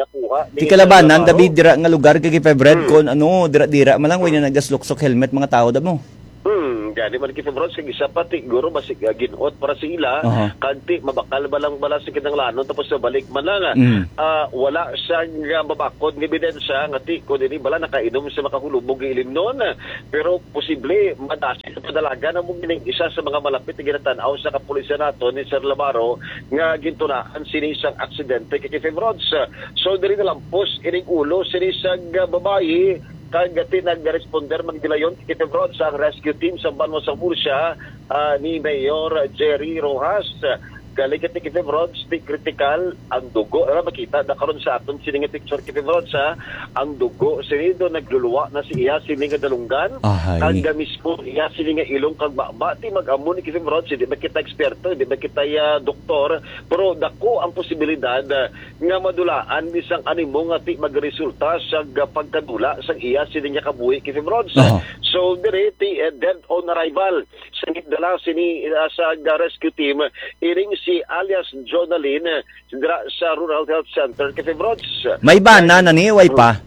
nakuha. Di kalabanan, David, dira nga lugar kay Kevin Rods, hmm, kon ano, dira-dira man lang, way na nagdasluksok helmet mga tao, damo. Hmm, gani man, Kevin Rods, kag isa pa, ti, guro, basig, ah, ginhot para sa ila, aha, kag ti, mabakal ba lang bala sa kinahanglanon, tapos nabalik man lang, ah, mm, ah, wala siyang, ah, mabakod nga ebidensya, nga ti, kung dili bala nakainom sa makahulubog nga ilimnon, pero posible, madasig sa padalagan ang mong ining isa sa mga malapit nga ginatan-aw sa kapulisan nato ni Sir Labaro, nga gintunaan sini sang aksidente kay Kevin Rods. So, diri nalampos ining ulo sini sang, ah, babayi, kag ti nag-responder man gilayon kay Kevin Rods ang rescue team sa Banwa sa Murcia, ah, ni Mayor Jerry Rojas. Galing kay Kevin Rods, ti critical ang dugo. Ano, makita na karon sa aton sini nga picture, Kevin Rods, ha? Ang dugo, sini do, nagluluwa na si iya sini nga dalunggan. Ahay. Kag mismo iya sini nga ilong kag baba. Ti mag-amo ni Kevin Rods, hindi ba kita eksperto, hindi ba kita, ah, doktor, pero dako ang posibilidad, ah, nga madulaan ni sang animo nga ti magresulta sa ga-, pagkadula sang iya sini nga kabuhi, Kevin Rods. Aha. So, diri ti, eh, dead on arrival sa gindala sini, ah, sa ga-, rescue team, ining si alias Jonalyn, eh, dira sa Rural Health Center, Kevin Rods. May bana na ni, way pa?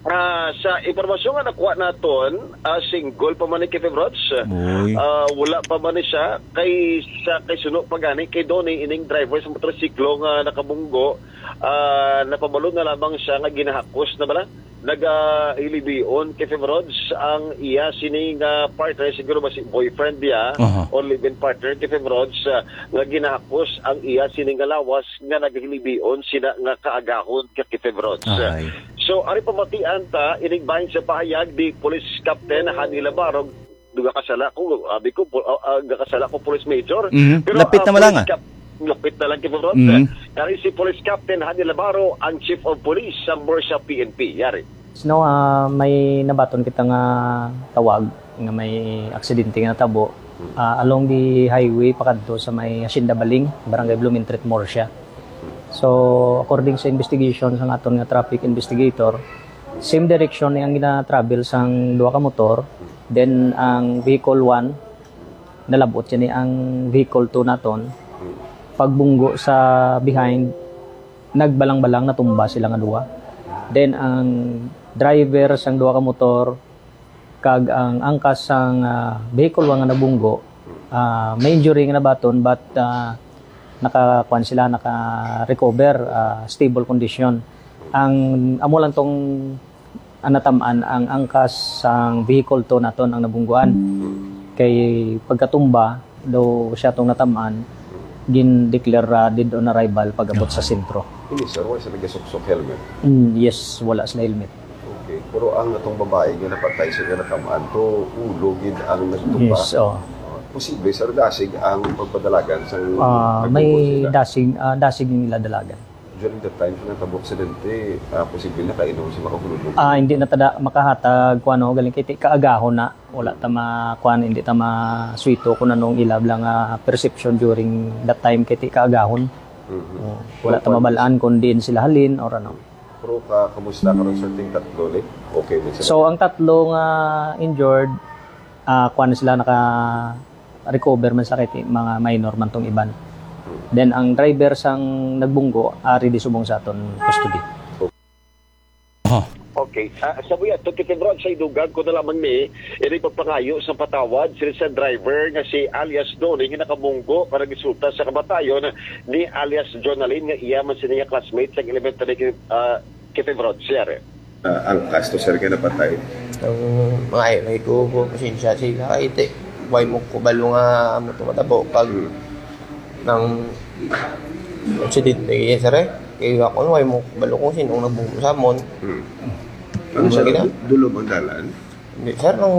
Ah, sa impormasyon nga nakuha naton, ah, single pa man ni Kevin Rods. Uy. Ah, wala pa man ni siya. Kay sa, kay suno pa gani kay Donnie, ining driver sa motorsiklo nga nakabunggo, ah, napabalo na lamang siya nga ginahakos na bala. Nagahilibion kay Kevin Rods ang iya sini nga partner, siguro ba si boyfriend niya Aha. or live-in partner kay Kevin Rods, ah, nga ginahakos ang iya sini nga lawas nga nagahilibion sina nga kaagahon kay Kevin Rods. Ay. So, ari pamatian ta, inig bahin sa pahayag ni Police Captain Hani Labaro, duga kasala ko, abi ko, pu-, ah, ah, gakasala ko, Police Major. Mhm. Pero, Lapit ah, na malanga. Police Cap-, lapit na lang, Kevin Rods. Mhm. Kari si Police Captain Hani Labaro, ang Chief of Police sa Murcia P N P. Yari. No, ah, may nabaton kita nga tawag nga may aksidente nga natabo, ah, along the highway pakadto sa may Hacienda Baling, Barangay Blumentritt, Murcia. So, according sa investigation sang aton nga traffic investigator, same direction ni ang gina-travel sang duha ka motor, then ang vehicle one, nalab-ot siya ni ang vehicle two naton. Pagbunggo sa behind, nagbalang-balang natumba sila nga duha. Then ang driver sang duha ka motor kag ang angkas sang, ah, vehicle one nga nabunggo, ah, may injury nga nabaton, but, ah, nakakuan sila, naka-recover, ah, stable condition. Ang amo lang tong ang natamaan ang angkas sang vehicle two naton ang nabungguan. Kay pagkatumba daw siya tong natamaan, gin-declare, ah, dead on arrival pag-abot sa Aha. sentro. Ini, sir, wala sila gasuksok helmet? Mm, yes, wala sila helmet. Okay. Pero ang atong babae nga napatay sa nga natamaan to, ulo gid ang nagtumba. Yes, oh. Ah, posible, sir, dasig ang pagpadalagan sa Ah, may nagtumba sila. dasig, ah, dasig ang ila dalagan. During that time sa natabo aksidente, ah, posible nakainom si Makahululog? Ah, hindi na tada makahatag kung ano, galing kay ti kaagahon na. Wala ta ma-, kuan, hindi ta masuwito kung anong ila bala nga perception during that time kay ti kaagahon. Mhm. Oh, wala ta So, mabalaan kung diin sila halin or ano. Pero ka-, kamusta karon, sir, ting tatlo ni? Okay man sila? So, ang tatlo nga injured, ah, kuan sila, naka-recover man sa kay ti-, mga minor man tong iban. Then ang driver sang nagbunggo ari di subong sa aton custody. Oh. Okay. Ah, sa buya to, Kevin Rods, sa idugang ko na lamang ni, ini pagpangayo sa patawad sila sa driver nga si alias Donnie nga nakabunggo nga nagresulta sa kamatayon ni alias Jonalyn nga iya man sini nga classmate sa elementary, ah, Kevin Rods, sir. Ah, ang kasto, sir, kay napatay. Ang mga ay, may kubo, pasensya sila. Ay, te, way mo ko balo nga amo to matabo pag Hmm. nang aksidente, yes, sir, eh. Kay ako, way mo ko balo kung sino ang nagbubo sa amon. Hmm. Ano, Ano sir, gina- du-, dulom ang dalan? Hindi, sir, nung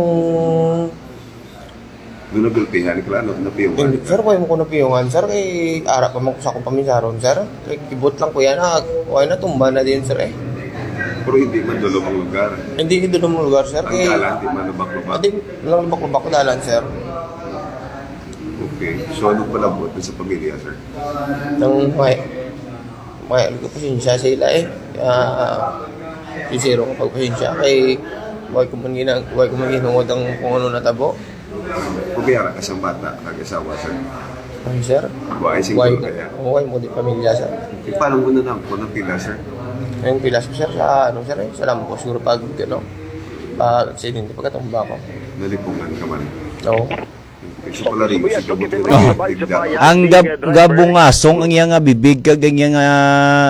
Nung nagulpihan ka, ano, napiyungan Hindi, ka? sir, way mo ko napiyungan, sir, kay ara pa man ko sa akong paminsaron, sir. Kay kibot lang ko yan, ah, way na tumba na din, sir, eh. Pero hindi man dulom ang lugar? Hindi, hindi dulom ang lugar, sir, Ang kay dalan, di man lubak-lubak? Hindi, lang lubak-lubak ko dalan, sir. Okay. So, anong palabot na sa pamilya, sir? Nang may, may, pasensya sila, eh. Ah, sincero nga pagpasensya kay way ko man gina-, way ko man ginungod ang kung ano natabo. Pabiyara ka sang bata, kag asawa, sir? Ay, sir. Wa ay single Way, kaya? Way mo di pamilya, sir. E, paano mo na lang kung napila, sir? Ang pilas ko, sir, sa, ano, sir, eh, sa lambo, siguro pag, ano, pag aksidente, pagkatumba ko. Nalipungan ka man? Oo. Kasi pala rin, Kuya, si Kabutiro, Kabutiro, Kabutiro. Ang gab-, gabungasong ang iya nga bibig kag ang iya nga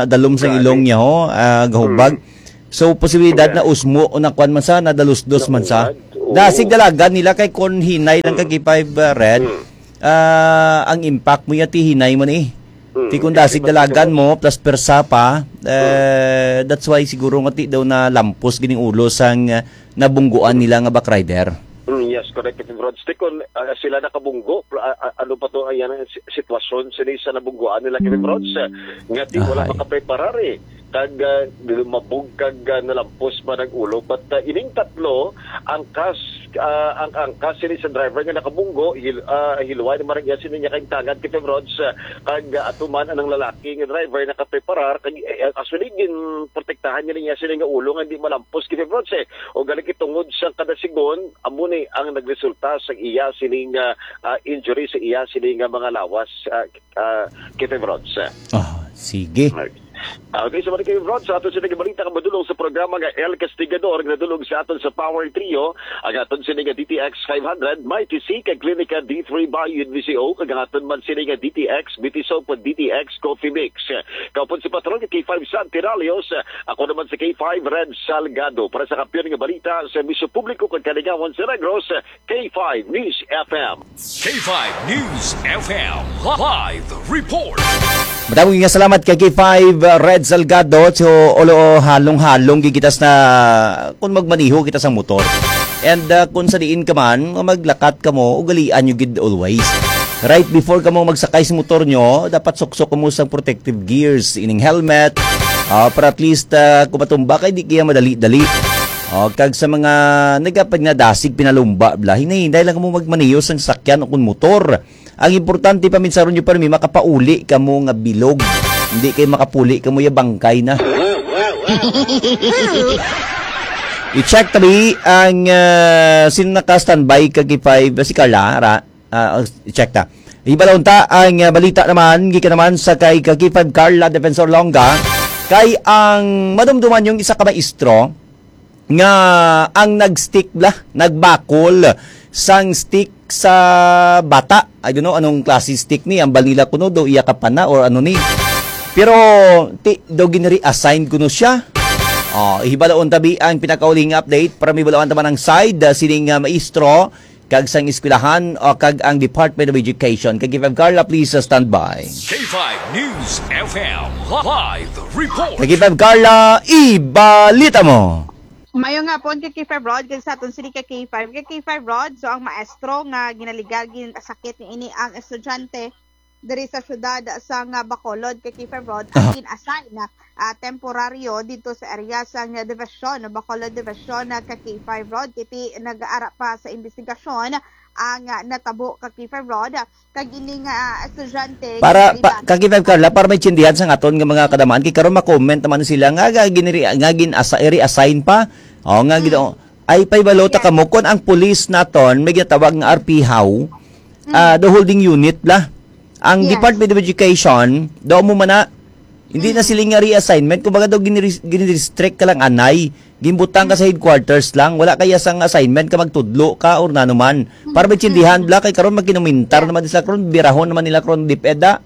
dalom sa Gani. ilong niya, ho, ah, gahubag. Mm. So, posibilidad Correct. na usmo o nakuan man sa, nadalusdos man sa. Nakuan, oo. Dasig dalagan nila kay kon hinay lang Mm. kag five, uh, red, Mm. ah, ang impact mo ya ti hinay mo ni. Mm. Ti kon dasig Kasi dalagan mo, plus persa pa, eh, Mm. that's why siguro nga ti daw na lampos gining ulo sang, ah, nabungguan Mm. nila nga back rider. Mm, yes, correct, Captain Rods. Ti kon, ah, sila nakabunggo, pl-, ah, ah, ano pa to, ayan, ang si-, sitwasyon sini sa nabungguan nila, Captain Rods, ah, nga ti wala Ahay. makapreparar, eh. Kag, ah, lumabog kag, ah, nalampos man ang ulo. But, ah, ining tatlo, angkas, ah, ang angkas sini sa driver nga nakabunggo, hil-, ah, hiluway na marang iya sini niya kay tangad, Captain Rods, ah, kag, ah, ato man anang lalaki nga driver nakapreparar, kag, eh, actually, ginprotektahan niya niya sini nga ulo nga hindi malampos, Captain Rods, eh. O gali kay tungod sa kadasigon, amo ni ang nagresulta sa iya sining, ah, ah, injury, sa iya sining, ah, mga lawas, ah, ah, Captain Rods. Ah, sige. Right. Okay, sa mga kayo, Rod, sa aton sini nga balita nga madulong sa programa nga El Castigador, nga nadulong sa aton sa Power Trio, ang aton sini nga D T X five hundred, Mighty C, kag Klinika D three Bio N V C O, kag ang aton man sini nga D T X, B T Soap, D T X Coffee Mix. Kaupod si Patron nga K five Santiralios, ako naman si K five Red Salgado. Para sa kampiyon nga balita sa Misyo Publiko kag Kalingawan sa Negros, K five News F M. K five News F M live report. Madamo nga salamat kay K five, uh, Red Salgado. So, olo, halong-halong gid kita sa kung magmaniho kita sa motor. And, uh, kung sa diin ka man, maglakat ka mo, ugalian nyo gid always. Right before ka mo magsakay sa motor nyo, dapat suksok mo sa protective gears, ining helmet, uh, para at least, uh, kung matumba kay di kaya madali-dali. O, kag sa mga nagapagnadasig, pinalumba, bla, hinay-hinay lang mo magmaniyo sang sakyan o kun motor. Ang importante, paminsaron nyo pa rin, makapauli ka mo nga bilog. Hindi kayo makapuli ka mo, ya bangkay na. I-check tabi ang, ah, sino naka-standby kag K five, si Carla, ra, ah, i-check ta. Ibalon ta ang, ah, balita naman, gikan naman sa kay, kag K five Carla Defensor Longa, kay ang madumduman yung isa ka maestro, nga ang nag-stick bla, nagbakol sang stick sa bata. I don't know anong klase stick ni, ang balila kuno do iya kapana or ano ni. Pero ti, do ginreassign kuno siya. Oh, ihibalaon tabi ang pinakauling update para mibalawan taman ang side, ah, sining, ah, maestro kag sang eskwelahan o kag ang Department of Education. Kag K five Carla, please, uh, stand by. K five News F M live report. Kag K five Carla, ibalita mo. Mayo nga hapon kay K five Rod, kag sa aton sini kay K five. Kay K five Rod, so ang maestro nga ginaligar, ginasakit ni ini ang estudyante diri sa syudad sa nga Bacolod kay K five Rod, ang Aha. gin-assign na, ah, temporaryo dito sa area sa nga division, Bacolod Division, na ka K five Rod. Kiti nag-aara pa sa investigasyon ang, ah, natabo ka K five Rod. Kag ini nga, ah, estudyante, Para, pa, ginaiban. Kag K five Carla, para may tsindihan sa aton nga mga kadamaan, kay karon ma-comment naman sila nga, nga giniri-, nga gin-asa-, reassign pa. O, nga Mm. gino-, ay, pahibalo ta Yes. kamo, kung ang police naton, may ginatawag nga R P how, Mm. ah, the holding unit la. Ang Yes. Department of Education, daw mo man na, hindi na Mm. sila nga reassignment, kumbaga daw ginire-, ginirestrict ka lang anay, ginbutang ka sa Mm. headquarters lang, wala kaya sang assignment ka magtudlo ka or nano man. Para Mm. maintindihan, Mm. bla, kay karon magkinumintar Yes. naman sila karon, birahon naman nila karon DepEd, ah.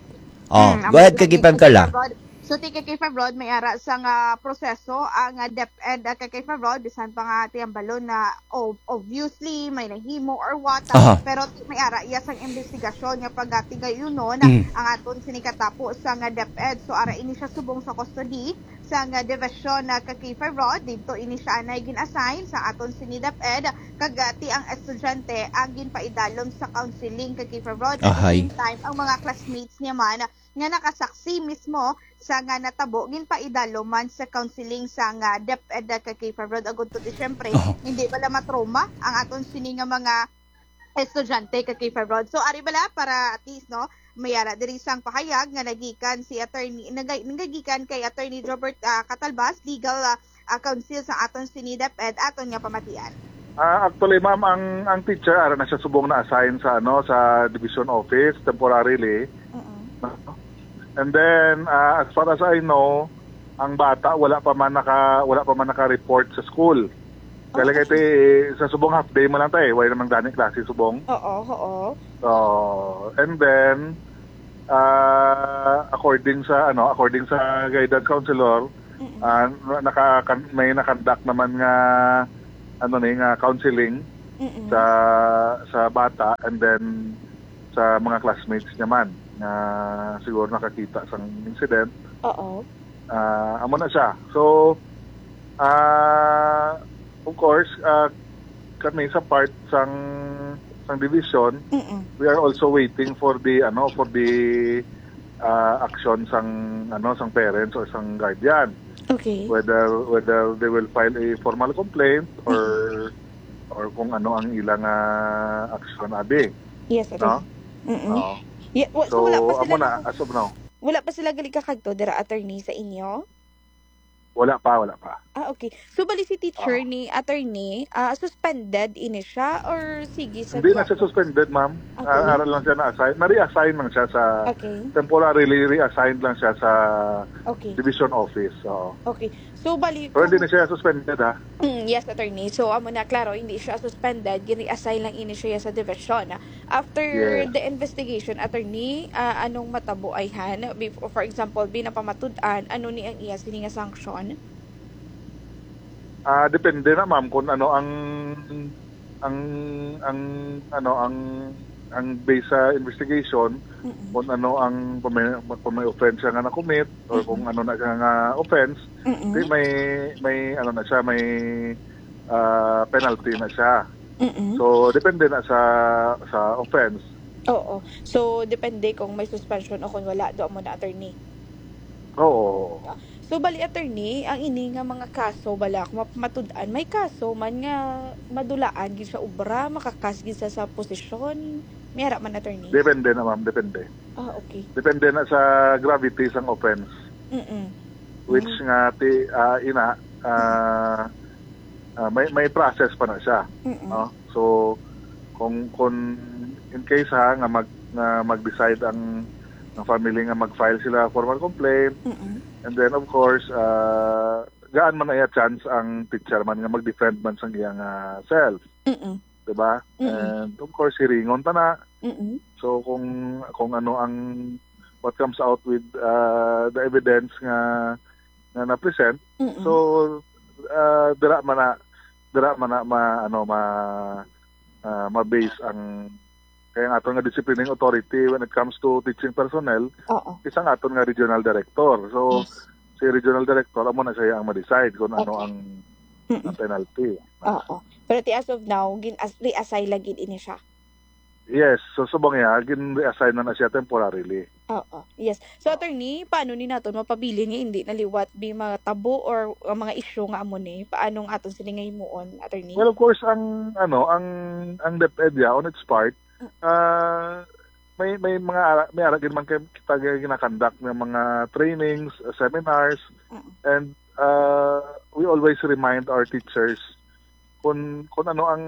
Oh, Mm, go ahead, ang kay K five Carla. Rod. So, ti kay K five Rod, may ara sa nga proseso ang, ah, DepEd, ah, kay K five Rod, bisan pa nga tiyambalon na ob-, obviously may nahimo or what, Aha. pero ti may ara iya sang investigasyon nga pagtigayunon Mm. ang aton sini katapo sa nga DepEd. So, ara ini siya subong sa custody sa nga division na ka K five Rod. Dito ini siya anay gin-assign sa aton sini DepEd, kag, ah, ti ang estudyante ang ginpaidalom sa counseling ka K five Rod. At the Ahay. same time, ang mga classmates niya man nga nakasaksi mismo sa nga natabo, ginpaidalom man sa counseling sa nga DepEd ka K five Rod. Agud to, di, syempre, Aha. hindi bala matrauma ang aton sini nga mga estudyante ka K five Rod. So, ari bala para at least, no, may ara diri sang pahayag nga nagikan si attorney, naga-, nagagikan kay Attorney Jobert, ah, Catalbas, legal, ah, ah, counsel sa aton sini DepEd, aton nga pamatian. Ah, actually, ma'am, ang, ang teacher, ara na siya subong na-assign sa, ano, sa division office temporarily. Mm-mm. No? And then, ah, as far as I know, ang bata wala pa man naka-, wala pa man naka-report sa school. Kaya Oh, lagi okay. Ti, sa subong half day mo lang tayo, wala namang dani klase subong. Oo, oo. So, and then, ah, according sa, ano, according sa guidance counselor, Mm-mm. ah, na-, naka-, kan-, may nakandak naman nga, ano ni, nga counseling Mm-mm. sa, sa bata, and then sa mga classmates niya man nga siguro nakakita sang incident. Oo. Ah, amo na siya. So, ah, of course, ah, kami sa part sang, sang division, Mm-mm. we are also waiting for the, ano, for the, ah, action sang, ano, sang parents or sang guardian. Okay. Whether, whether they will file a formal complaint or, Mm-mm. or kung ano ang ilang, ah, action, abi. Yes, sir. No? Mm-mm. Oo. Yeah, wa-, so, So, wala pa sila amo na, naka-, as of now. Wala pa sila gali kakadto dira, attorney, sa inyo? Wala pa, wala pa. Ah, okay. So, bali si teacher ni attorney, ah, suspended ini siya or sige sa Hindi na siya trabaho? Suspended, ma'am. Okay. Ah, ara lang siya na-assign. Na-reassign lang siya sa, Okay. temporarily reassigned lang siya sa Okay. division office. Oo. Okay. So, bali, Pero hindi kung- na siya suspended, ha? Mm, yes, attorney. So, amo na, klaro, hindi siya suspended. Gini-assign lang ini siya sa division. After Yes. the investigation, attorney, ah, anong matabo ay han? Bef-, for example, binapamatud-an, ano ni ang iya sini nga sanction? Ah, depende na, ma'am, kung ano ang ang ang ano ang ang base sa investigation, Mm-mm. Kung ano ang kung may, kung may offense siya nga na-commit or kung ano na siya nga offense, Mm-mm. di may may ano na siya, may ah, penalty na siya. Mm-mm. So depende na sa sa offense. Oo. So, depende kung may suspension o kung wala, do mo na, attorney. Oo. So, bali, attorney, ang ini nga mga kaso, bala, kung map-, matud-an, may kaso man nga madulaan gid sa obra, makakas gid sa, sa posisyon. May ara man, attorney? Depende na, ma'am, depende. Ah, okay. Depende na sa gravity sang offense, Mm-mm. which nga ti ah, ina ah, ah, may may process pa na siya, Mm-mm. no? So kung kung in case, ha, nga mag nga mag-decide ang ang family nga mag-file sila formal complaint, Mm-mm. and then of course ah, gaan man na iya chance ang teacher man nga mag-defend man sang iyang ah, self, Mm-mm. di ba? Mm-mm. And of course hiringon ta na. Mm-mm. So kung kung ano ang what comes out with uh, the evidence nga nga na-present, Mm-mm. so uh, dira man na dira man na ma ano ma uh, ma-base ang kaya ang aton nga disciplining authority when it comes to teaching personnel Oo. is ang aton nga regional director. So Yes. si regional director amo na siya ang ma-decide kung ano Okay. ang, Mm-mm. ang penalty. Oo. Pero ti as of now, gin as reassign lagi ini siya. Yes, so subong niya, gin-reassign na na siya temporarily. Oo. Yes. So, attorney, paano ni naton mapabilin nga hindi na liwat bi matabo or ang mga issue nga amo ni? Paano ang aton sini nga himuon, attorney? Well, of course, ang ano, ang ang DepEd ya, on its part, ah may may mga ara, may ara gid man kay kita ginakandak nga mga trainings, uh, seminars, Mm. and uh, we always remind our teachers kung kung ano ang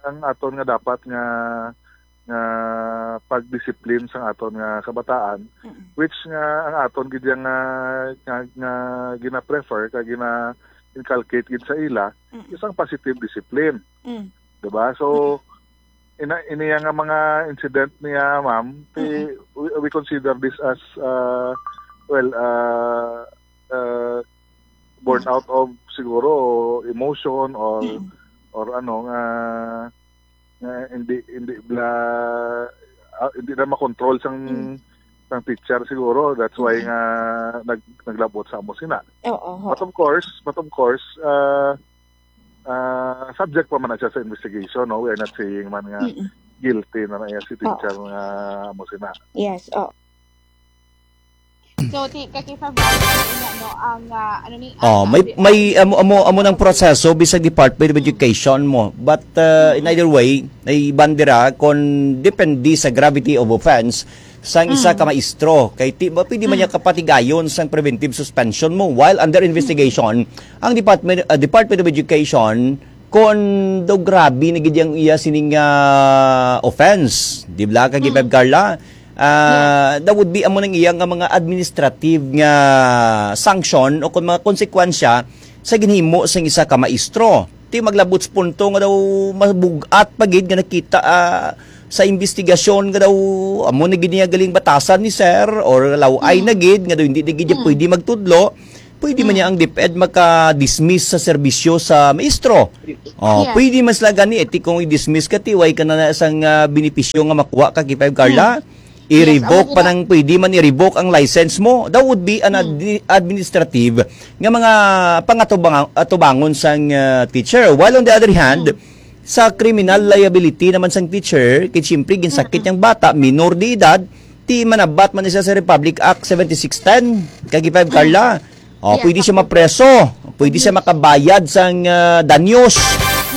ang aton nga dapat nga nga pagdisiplin sang aton nga kabataan, Mm. which nga ang aton gid yang nga nga, nga gina-prefer kag gina-inculcate gid sa ila Mm. isang positive discipline, Mm. di ba? So ina iniya nga mga incident niya, ma'am, ti, we, we consider this as uh, well uh, uh, born out of siguro emotion or Mm. or ano nga nga hindi hindi bla ah, hindi na makontrol sang Mm. sang teacher siguro, that's why Mm. nga nag, naglabot sa amo sina. Oo. Ho. But of course, but of course, uh, uh, subject pa man na siya sa investigation, no? We are not saying man nga Mm-mm. guilty na na iya si teacher nga amo sina. Yes. Oh. So, ti kaki February, no, ang ah, ano ni Oh, ang- may ang- may amo amo amo nang proseso bisag Department of Education mo. But uh, in either way, ay bandera kon depende sa gravity of offense sang isa ka maestro. Kay ti ba pwede man niya kapatigayon sang preventive suspension mo while under investigation ang Department uh, Department of Education kon daw grabe na gid ang iya sining ah, offense, di ba, kag Carla? Ah, that would be amo nang iya nga mga administrative nga sanction o kung mga konsekwensya sa ginhimo sang isa ka maestro. Ti maglabot sa punto nga daw mabug-at pa gid nga nakita ah, sa investigasyon nga daw amo na gid niya galing batasan ni sir or laway na gid nga daw hindi na gid niya pwede magtudlo. Pwede man niya ang DepEd maka-dismiss sa serbisyo sa maestro. Oh, Yes. Pwede man sila gani, eh, ti kung i-dismiss ka, ti way ka na na sang ah, benepisyo nga makuha ka, kay Carla. I-revoke Yes, pa amo nang pwede man i-revoke ang license mo. That would be an admi- administrative nga mga pangatubangan sang ah, teacher. While on the other hand, sa criminal liability naman sang teacher, kay siyempre ginsakit niyang bata, minor de edad, ti manabat man siya sa Republic Act seventy-six ten, kay Carla. Oh, Yes, pwede siya ako. Mapreso, pwede siya makabayad sang ah, danyos,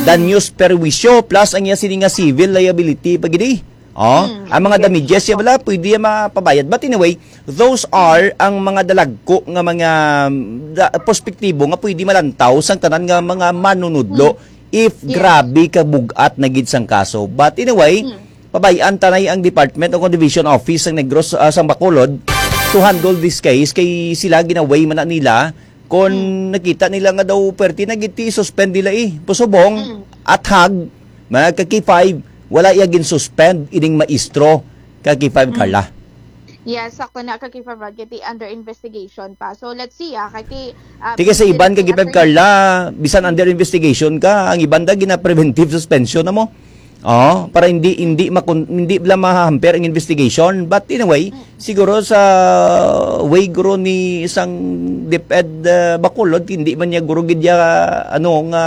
danyos perwisyo plus ang iya sini nga civil liability pa gid. Oh, Mm, ang mga yes, damages, yes, ya bala, pwede ya mapabayad. But anyway, those are ang mga dalagko nga mga, mm, da-, perspektibo nga pwede malantaw sang tanan nga mga manunudlo Mm. if Yes. grabe ka bug-at na gid sang kaso. But anyway, Mm. pabay-an tanay ang department o kung division office sang Negros, ah, sang Bacolod to handle this case kay sila ginaway man na nila kon Mm. nakita nila nga daw perti na gid ti suspend nila eh. Pusubong, Mm. athag, mga ka K five, wala iya gin-suspend ining maestro ka K five Mm. Carla. Yes, sakto na ka K five Rod, kay ti under investigation pa. So let's see ah, kay ti, ah, Ti kay sa iban ka K five Carla, bisan under investigation ka, ang iban da gina-preventive suspension na mo. Oh, para hindi, hindi makon-, hindi bala mahamper ang investigation. But in a way, Mm. siguro sa way guro ni isang DepEd, ah, Bacolod, hindi man niya guro gid ya, ano, nga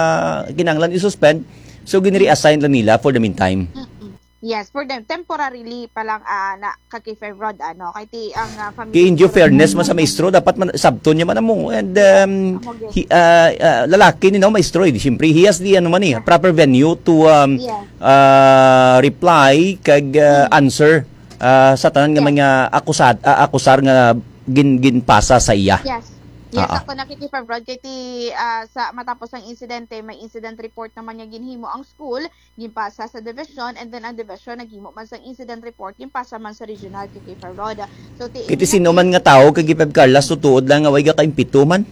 kinahanglan i-suspend. So, ginre-assign lang nila for the meantime. Mm-mm. Yes, for them, temporarily pa lang, ah, na ka K five Rod, ano, kay ti ang, ah, family Kay in due guro fairness man sa maestro, dapat man, sabton niya man amo. And, Yes, um, amo gid. he, ah, ah, lalaki ni, no, maestro, eh. Siyempre, he has the, ano man, eh, Yeah. proper venue to, um, Yeah. ah, reply kag, ah, Mm. answer, ah, sa tanan nga Yeah. mga akusad-, ah, akusar nga gin-, ginpasa sa iya. Yes. Yes, Ah, ah. ako nakikipag-, Rod, kay ti, ah, sa matapos ang insidente, may incident report naman nga ginhimo ang school, ginpasa sa division, and then ang division naghimo man sang incident report, ginpasa man sa regional kay K five Rod. So, ti Kiti sino man nga tawo kay K five Carla, so tuod lang nga way gakaimpito man.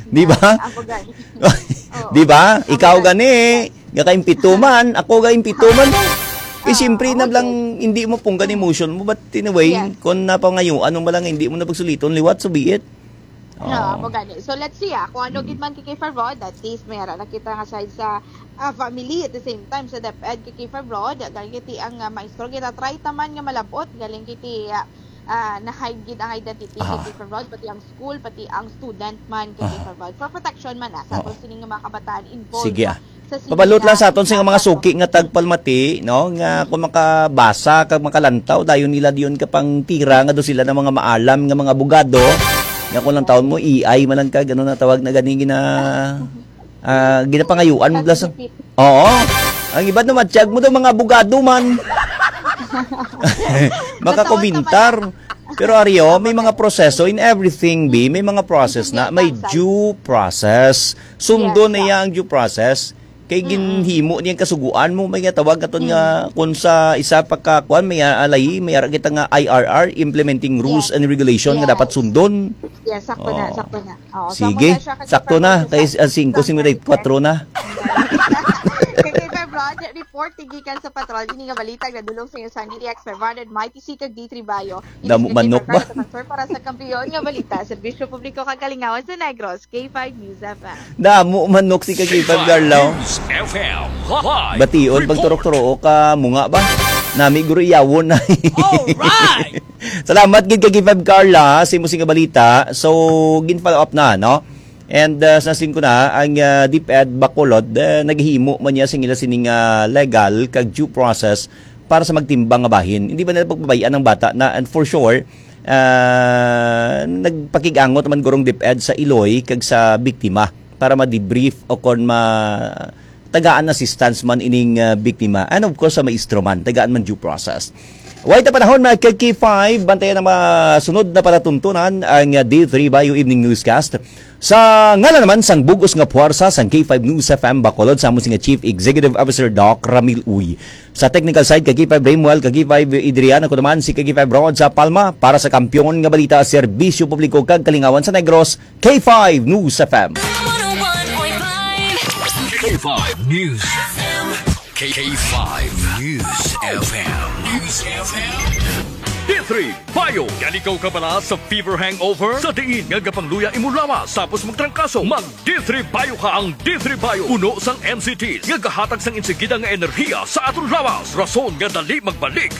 Di ba? Yes, ako gani. Oo. Di ba? Ako Ikaw gani. gani, gakaimpito man, ako gakaimpito man. Eh, Ah, siyempre na okay. lang, hindi mo punggan emotion mo, but in a way, Yes. kung napangayuan mo lang, hindi mo na pagsuliton, liwat, so be it. No, Oo. amo gani. So, let's see, ah, kung ano Mm. gid man kay K five Rod, at least may ara na kita nga side sa, ah, family, at the same time, sa DepEd kay K five Rod, gani ti ang, ah, maestro, gina-try ta man nga malab-ot, galing kiti, ah, ah, na-hide gid ang identity kay Ah. K five Rod, pati ang school, pati ang student man kay Ah. K five Rod. For protection man, ah, sa Oo. aton sini nga mga kabataan involved, Sige, no, ah. sa sini Pabalot lang nga sa aton sa mga mga kaso. suki nga tagpalmati, no, nga Mm. kung makabasa kag makalantaw, dayon nila diyon ka pang tira nga do sila ng mga maalam nga mga abogado, nga kung lang taon mo, A I man lang ka, gano'n na tawag na gani gina-, ah, ginapangayuan mo bala sa ChatGPT. Oo. Ang iba naman, tiyag mo daw, mga abogado man. Makakomentar. Pero, Aryo, may mga proseso in everything, B. May mga process na. May due process. Sundo Yes, na sir. iya ang due process. Kay Mm-mm. ginhimo niyang kasuguan mo, may nga tawag katon nga, Mm. kung sa isa pa ka, kuwan, may, ah, alay, may ara kita nga I R R, Implementing Rules Yes. and Regulation, nga Yes. dapat sundon. Yes, sakto na, Oo. sakto na. Oo, Sige, sa muna siya, kay sakto na, February kay, ah, singko, February singko na, kwatro na. Kay February report, gikan sa patrol, ini nga balita, nadulong sa inyo sa D X five hundred, Mighty C kag D three Bayo. Damo Ini si manok ba? February sa Patrol para sa kampiyon nga balita, serbisyo publiko kag kalingawan sa Negros, K five News F M. Damo manok si Kagipag K five Garlaw. News F M live Bation report. Pagturok-turok ka, munga ba? Nami guro iyawon na. Alright! Salamat gid kay K five Carla, sa imo sing nga balita. So, gin-follow up na, no? And, uh, sa singko na, ang, uh, DepEd Bacolod, uh, naghimo man niya sing ila sining, uh, legal kag due process para sa magtimbang nga bahin. Hindi ba nila pagbabayaan ang bata na, and for sure, ah, nagpakig-angot man gurong DepEd sa iloy kag sa biktima para ma-debrief o kon ma-, tagaan assistance man ining, ah, biktima. And of course, sa maestro man, tagaan man due process. Way ta panahon, mga ka K five, bantayan ang mga sunod na palatuntunan, ang, ah, D three Bio Evening Newscast. Sa ngalan naman sang bug-os nga puwersa sang K five News F M Bacolod, sa amo sing Chief Executive Officer Doc Ramil Uy. Sa technical side, ka K five Ramuel, ka K five Adrian, ako naman si ka K five Rod sa Palma. Para sa kampiyon nga balita, serbisyo publiko kag kalingawan sa Negros, K five News F M. K five News F M. K five News F M. News F M. D three Bio. Yan ikaw ka bala sa fever hangover? Sa diin nga gapangluya imo lawas tapos magtrangkaso, mag D three Bio ka. Ang D three Bio puno sang M C Ts nga gahatag sang insigida nga enerhiya sa aton lawas, rason nga dali magbalik